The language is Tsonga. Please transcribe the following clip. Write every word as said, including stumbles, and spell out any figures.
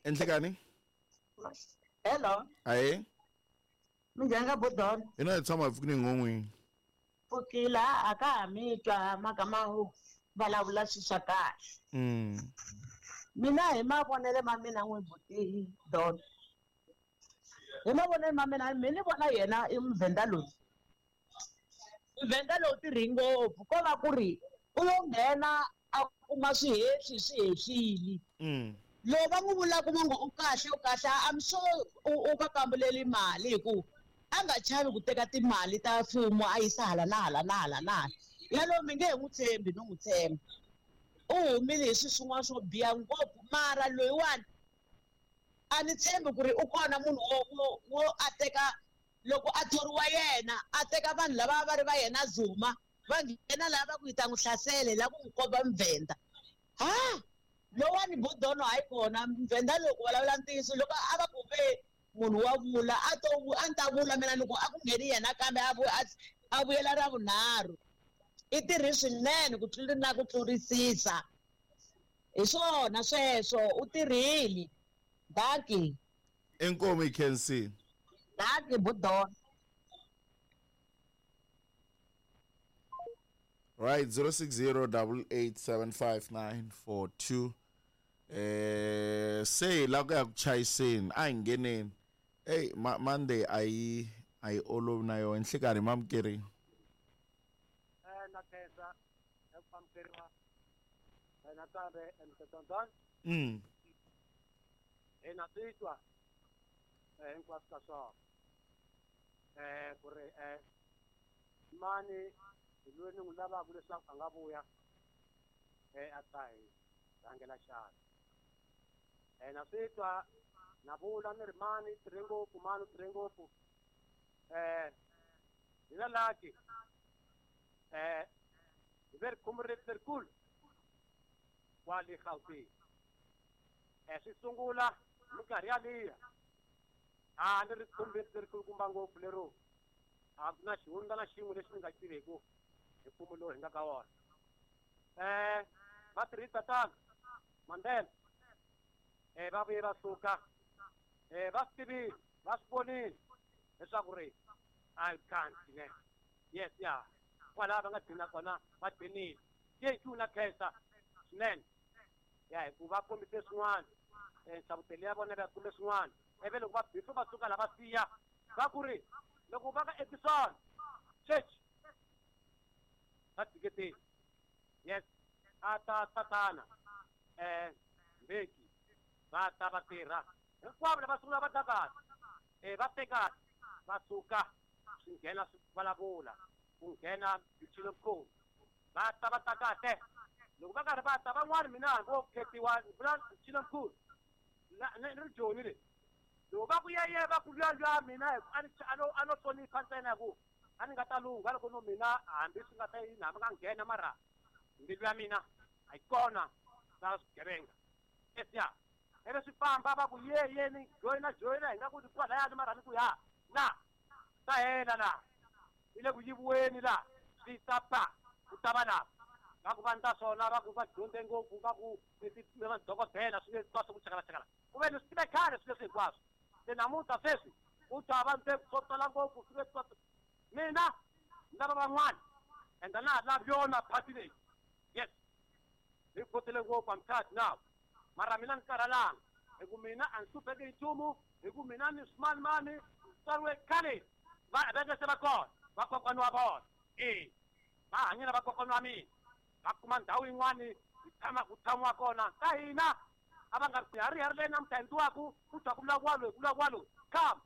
Enhlekani? Hello. Aye. Minjhani ka Bodon? Ina hi tshama hi pfukini ngon'wini. Pfukile a ka ha mi twa mhaka ma vulavula swilo swa kahle. Mm. Mina hi mavonele ma mina n'wi buti Don. Hi mavonele ma mina mi ni vona yena i muvhenda loyi. Muvhenda lowu tirhi ngopfu ko va ku ri u lo nghena a kuma swihehli swi hehlile. Mm. Loko va n'wi vulaka va ngo u kahle u kahle I'm sure u va kambuleli mali hi ku a nga chavi ku teka timali ta mfumo a yisa hala na hala na hala na hala. Yalowo mi nge he n'wi tshembi no n'wi tshemba. U humile hi swilo swin'wana swo biha ngopfu mara loyiwani a ni tshembi ku ri u kona munhu wo wo wo a teka loko a thoriwa yena a teka vanhu lava va ri va yena Zuma va nghena laha va ku yi ta n'wi hlasela la ku n'wi komba mvhenda. Ha! Lowani Bodono hayi kona mvhenda loko vulavula ntiyiso loko a va ku ve munhu wa vula a to a ni ta vula mina ni ku a ku ngheni yena kambe a a vuyela ra vunharhu. I tirhi swinene ku tlula na ku tlurisisa. Hi swona sweswo u tirhile. Dankie. Inkomo Kensi. Dankie Bodono. Right, zero six zero double eight seven five nine four two. Eh, say la ku ya ku chayiseni a hi ngheneni. Hey, ma Monday a yi a yi olovi na yona nhlikani mamukeri. Eh, na khensa eku amukeriwa nakambe Mister Don. Mm. Eh, na titwa eh hinkwaswo ka swona. Eh, ku ri eh mani hi loyi ni n'wi lavaka leswaku a nga vuya eh a ta hi rhangela xana. Eh na swi twa na vula ni ri mani tirhe ngopfu mani tirhe ngopfu. Eh hi na lucky eh hi ve ri khumbu lerikulu kwale Gauteng. Eh swi sungula minkarhi yaliya a ni ri khumbu lerikulukumba ngopfu lero a ku na xihundla na xin'we lexi ni nga xi tiveku hi mfumo lowu hi nga ka wona. Eh va tirhisa tano Mandela eh va vuye va suka eh va swi tivile va swi vonile leswaku ri a kanti ne yes ya kwalaha va nga dlina kona va dlinile. Thank you na khensa swinene ya hikuva va kombise swin'wana nhlavutelo ya vona va kumbe swin'wana ivi loko va before va suka lava siya va ku ri loko va ka Edison church va tshiketeni yes a ta tatana eh Mbeki va ta va tirha hinkwavo lava sungula va ta eh va teka va suka swi nghena swi vulavula ku nghena Mchilomkhulu va ta va ta kahle loko va karhi va ta van'wani mina vo khetiwa vula Mchilomkhulu ni ri joni le loko va ku yeye va ku luya luya mina a ni a no a no hlonipha ntsena ku a ni nga ta lungha loko no mina hambi swi nga ta yini hambi nga nghena mara mbilu ya mina a yi kona ta swigevenga esiya ivi swi famba va ku ye ye ni joyina joyina hi nga ku kwalayani mara ni ku ya na ta hela na yi le ku yiviweni la swi ta pa ku ta va la va ku va ni ta swona va ku va dyondze ngopfu va ku madokodela swilo hinkwaswo ku chakalachakala ku ve ni swi tive khale swilo leswi hinkwaswo se namuntlha sweswi u twa va nte swo tala ngopfu swilo leswi mina ni lava van'wana ende na ha lavi yona party leyi yes hi khotile ngopfu I'm tired now mara mina ni karhalanga hi ku mina a ni hlupheki hi nchumu hi ku mina ni swimanimani tswariwe khale va veke se va kona vakokwana wa vona e va hanye na vakokwana wa mina va kuma ndhawu yin'wani hi tshama ku tshamiwa kona ka hina a va nga ri hari hari leyi namuntlha endliwaku ku twa ku vulavuriwa loyi ku vulavuriwa loyi come